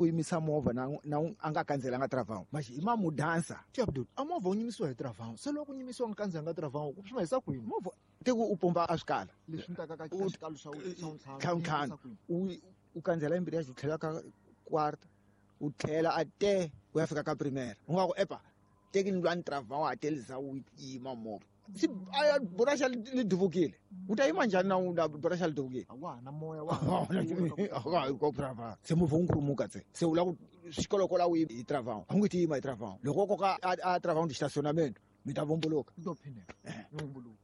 ku yimisa movha na a nga kandzelanga travawu maxi i ma mudansa. Ti Abdul, a movha wu nyimisiwa hi travawu, se loko ku nyimisiwa nga kandzelanga travawu ku swi hisa kwini? Movha teku u pomba a swikala leswi ni taka ka xikalo xa ntlhanu ntlhanu u kandzela embirhi u tlhela ka quarta u tlhela a te u ya fika ka primera u nga ku epa teki ni lwa ni travawu a telisa u yima movha si a buraxa li duvukile u ta yima njhani na buraxa li duvukile na moya wa travawu se movha wu nkhurumuka tse se u lava ku xikolokola u hi travawu a wu nge ti yima hi travawu loko koka a travawu ndi estacionamento mi ta vumbuluka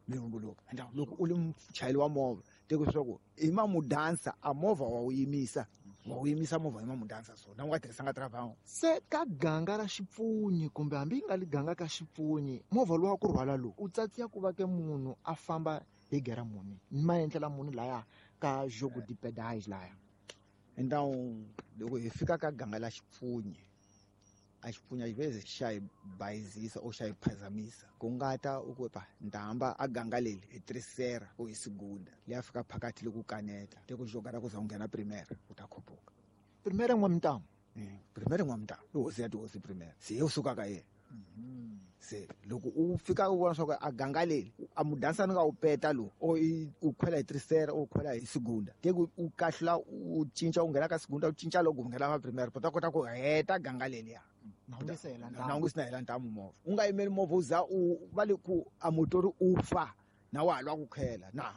mi vumbuluka. Loko u li muchayeri wa movha teko leswaku i ma mudansa a movha wa wu yimisa movha i ma mudansa so na u nga tirhisanga travawu. Se ka ganga ra xipfunyi kumbe hambi yi nga li ganga ka xipfunyi movha lowu wa ku rhwala lowu u tsatsiya ku va ke munhu a famba hi gera muni maendlela muni laya ka jogo de pedais laya. Então loko hi fika ka ganga la xipfunyi a xipfunya xiveze xa hi bayizisa o xa hi phazamisa ku nga ta u ku pa ndamba a ganga leli hi terceira ou hi segunda leyi a fika phakathi loko kaneta te ku joga ra ku za u nghena primera u ta khupuka primera n'wamitamu. Primera n'wamitamu i hosi ya tihosi primera se ye u suka ka yena. Se loko u fika u vona swa ku a ganga leli a mudansa ni nga u peta lowu o u khwela hi terceira u khwela hi segunda te ku u kahlula u cinca u nghena ka segunda u cinca loko u nghena ka primera u ta kota ku heta ganga leliya na u nge se na hela ntamu movha u nga yimeli movha u za u va le ku a motori u fa na wa ha lwa ku khwela na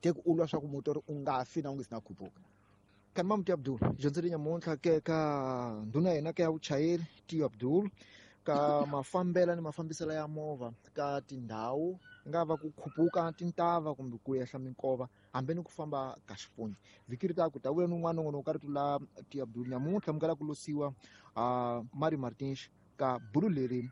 te ku u lwa swa ku motori u nga fi na u nge se na khupuka. Kani Mamuti Abdul dyondzo leyi nyamuntlha ke ka ndhuna ya hina ka ya vuchayeri Tiyo Abdul ka mafambela ni mafambiselo ya movha ka tindhawu nga va ku khupuka tintava kumbe ku ehla minkova hambi ni ku famba ka xipfunyi. Vhiki ri ta ku ta vuya ni un'wana nongonoko ka rito la Tiyo Abdul nyamuntlha mukala ku losiwa Mari Martins ka bulu leri.